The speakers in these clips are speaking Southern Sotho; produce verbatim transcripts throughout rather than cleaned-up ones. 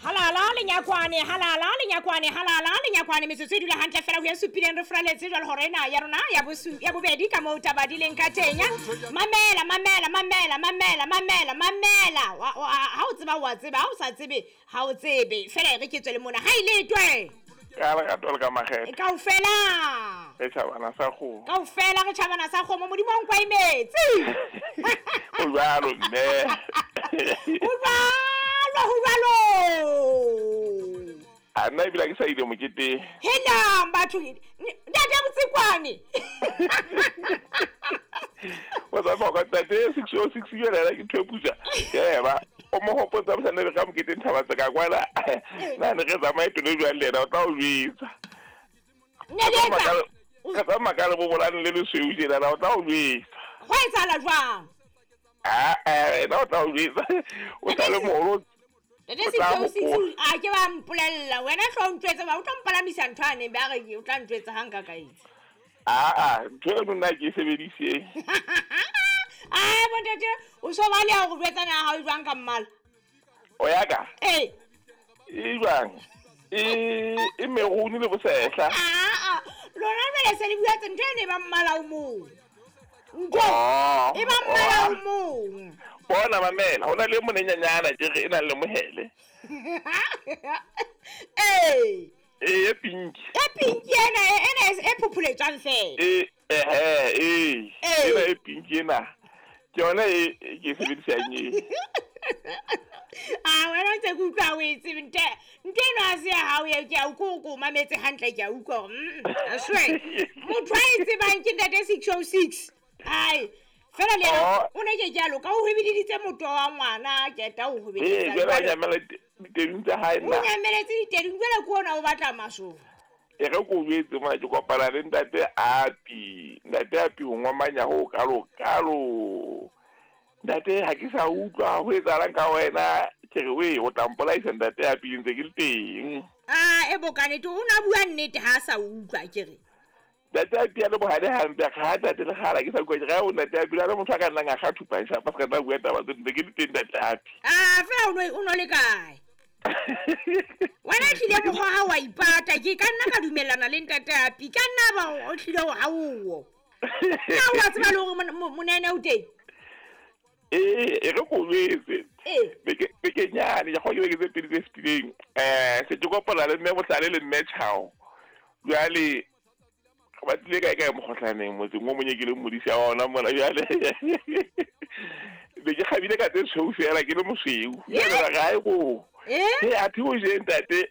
Halala lenyakwane, halala lenyakwane, halala lenyakwane. Metsotso e dula hantle fela ho ya supileng re furaletse jwale hore ena ya rona ya bosu ya bobedi ka moo taba di leng ka teng. Mamela, mamela, mamela, mamela, mamela, mamela. Ha o tseba wa tseba, ha o sa tsebe ha o tsebe. Fela re ke tswele mona. Ha ile twe. Ka la ka ka makgethe. Kaofela. Re tjhabana sa kgomo. Kaofela re tjhabana sa kgomo, Modimo o nkwa imetse. O jwalo mme. O jwalo, ho jwalo. A nna ebile ke sa ile moketeng. Helang batho, ntate Botsikwane. Wa tsaba ka tate six oh six yela ke thwepusa. Yeba, o mo hopotsa mosane re ka moketeng thaba tsa ka kwana. Nna ne re tsamaye tole jwang le yena o tla o jwetsa. Ne le etsa. Ka tsamaya ka le bobolane le lesweu tjena o tla o jwetsa. Ho etsahala jwang? Ah eh ena o tla o jwetsa. O tla le moholo. Ntate six oh six a ke ba mpolella wena hlo o ntjwetsa ba o tla mpalamisa ntho ane ba re o tla ntjwetsa ha nka ka etsa. Ah ah ntho eno nna ke e sebedise. Ai bontate o so ba le ho jwetsa na ha o jwang ka mmala. O ya ka? Eh. E jwang? E e meruni le bosehla. Ah ah lona jwale se le bua tse ntho ene ba mmala o mong. Ntho e ba mmala o mong. Bona mamela hona le monenyanyana ke re e nang le mohele. Eh. E e pinki. E pinki ena ena e phopholetswang fela. E eh eh ena e pinki ena. Ke yona e ke sebedisang e. Ah wena ntse ke utlwa o e tsebe nte nte eno ha se ya hao e ke a utlwa o mametse hantle ke a utlwa hore mm swe motho a e tsebang ke ntate six oh six. Ai fela le yena o ne ke jalo ka o hwebeditse moto wa ngwana ke ta o hwebeditse. Eh jwale a nyamela ditedung tsa hae nna. O nyameletse ditedung jwale ke ona o batla masoba. E re ko jwetse mona ke kopana le ntate Api. Ntate Api ho ngomanya ho kalo kalo. Ntate ha ke sa utlwa ho etsahalang ka wena ke re we o tla mpolaisa ntate Api ntse ke le teng. Ah e bokanete o na bua nnete ha sa utlwa ke re. Ntate Api a le bohale hampe ga ntate le gala ke sa utlwa ke re o ntate Api le motho a ka nnang a ga thupa sa pa se ka tla bua taba tse ntse ke le teng ntate Api. Ah fela o no o no le kae? Wena tlile mokgwa ha wa ipata ke ka nna ka dumellana le ntate Api ka nna ba o tlile ho haowo. Na wa tseba le hore monene o teng? Eh e re ko jwetse. Eh beke beke nyane ya go ke beke tse pedi tse fetileng. Eh se ke kopana le mme Bohlale le mme Chao. Jwale ba tlile kae kae mokgohlaneng motseng o monye ke le modisi wa ona mona jwale. Be ke kgabile ka tse tshweu fela ke le mosweu. Jwale ra gae ko. Eh e a thi o je ntate.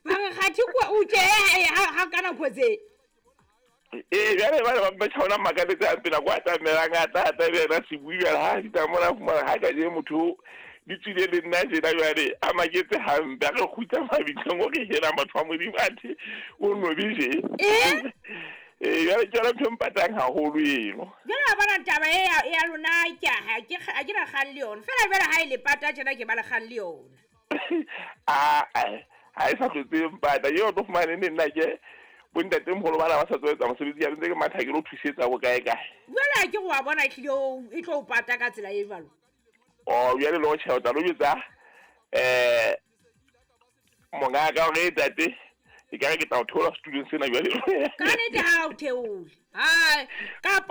Mara ga thi kwa o je ha ka nako tse. Eh jwale ba ba ba tshwana makaletse a pela kwa tamelang a tla tla bena sebui jwale ha di tsamona fumana ha ka je motho di tswile le nna jena jwale a maketse hampe a re kgutla mabitleng o re hela motho wa Modimo athe o nobe je. Eh eh jwale ke yona ntho e mpatang haholo eno. Jwale wa bona taba e ya lona ke ha ke ha ke na kgang le yona. Fela jwale ha e le pata tjena ke ba le kgang le yona. Ah ha e sa hlotse mpata eo tlo fumane ne nna ke bontate moholo bana ba sa tswetsa mosebetsi ya ntse ke matha ke lo thusetsa go kae kae. Jwale ke go wa bona e tlile e tlo o pata ka tsela e jwalo. Oh jwale lo tjha o tla lo jwetsa eh monga ka hore tate e ka re ke tla o theola student sena jwale. Ka nnete ha o theole. Hai kapo